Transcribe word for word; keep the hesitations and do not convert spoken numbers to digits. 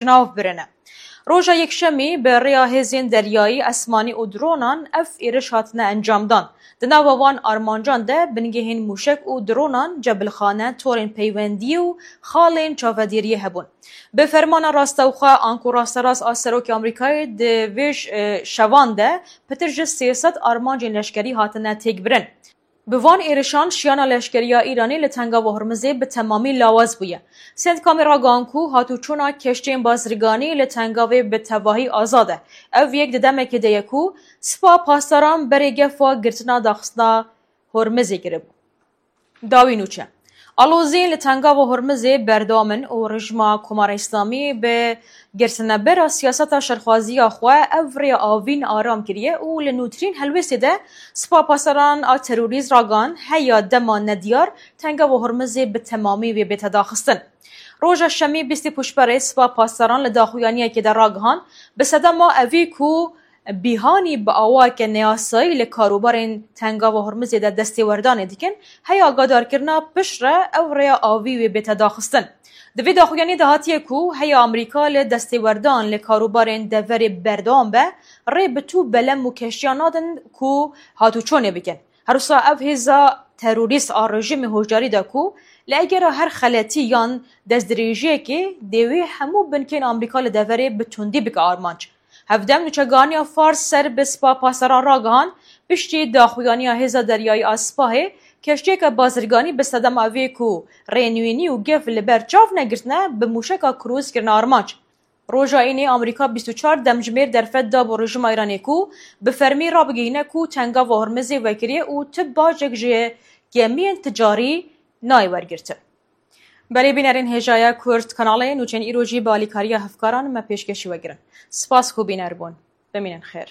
nav birine. Roja Yekşemî bi rêya hêzên deryayî, esmanî û dronan ev êriş hatine encamdan. Di nava van armancan de bingehên mûşek û dronan, cebilxane, torên peywendiyê û xalên çavedêriyê hebûn. Bi fermana rastewxwe an ku rasterast a Serokê Amerîkayê di vê ş-, e, şevan de pitir ji sê sed armancên leşkerî hatine têkbirin. Bi van êrişan şiyana leşkeriya Îranê li Tengava Hormizê bi temamî lawaz bûye. Sendkamê ragihan ku hatûçûna keştiyên bazirganî li Tengavê bi tevahî azad e. Ev yek di demekê de ye ku Spa Pasdaran berê gefa girtina daxistina Hormizê kiribû. Dawî nûçe. Aloziyên li Tengava Hormizê berdewam in û rejîma Komara Îslamî bi girtinebera siyaseta şerxwaziya xwe ev rêya avîn aram kiriye û li nûtirîn helwêstê de Spa Pasdaran a terorîst ragihan heya dema nediyar Tengava Hormizê bi temamî wê bête daxistin. Roja Şemî bîstê Pûşberê Spa Pasdaran li daxuyaniyekê de ragihan, bi sedema evî ku bîhanî bi awayeke neyasayî li karûbarên Tengava Hormizê de destêwerdanê dikin, heya agadarkirina piştre ew rêya avî wê bête daxistin. Di vê daxuyaniyê de hatiye ku heya Amerîka li destêwerdan li karûbarên deverê berdewam be, rê bi tû belem û keştiyan nadin ku hatûçûnê bikin. Her wisa ev hêza terorîst a rejîmê hoşdarî da ku li egera her xeletî yan destdirêjiyekê dê wê hemû binkên Amerîka li deverê bi tundî bike armanc. Hevdem nûçegihaniya Fars ser bi Spa Pasdaran ragihan, piştî daxuyaniya hêza deryayî a Spahê, keştiyeke bazirganî bi sedema vê ku rê nûînî û gef li ber çav negirtine, bi mûşeka krûz kirine armanc. Roja Înê Amerîka bîst û çar demjimêr derfet da bo rejîma Îranê ku bi fermî rabigihîne ku Tengava Hormizê vekiriye û tu bacek ji gemiyên ticarî nayê wergirtin. Belê bînerên hêjaya Kurd Kanalê, nûçên îro jî bi alîkariya hevkaran me pêşkêşî we kirin. Spas ku bîner bûn. Bimînin xêr.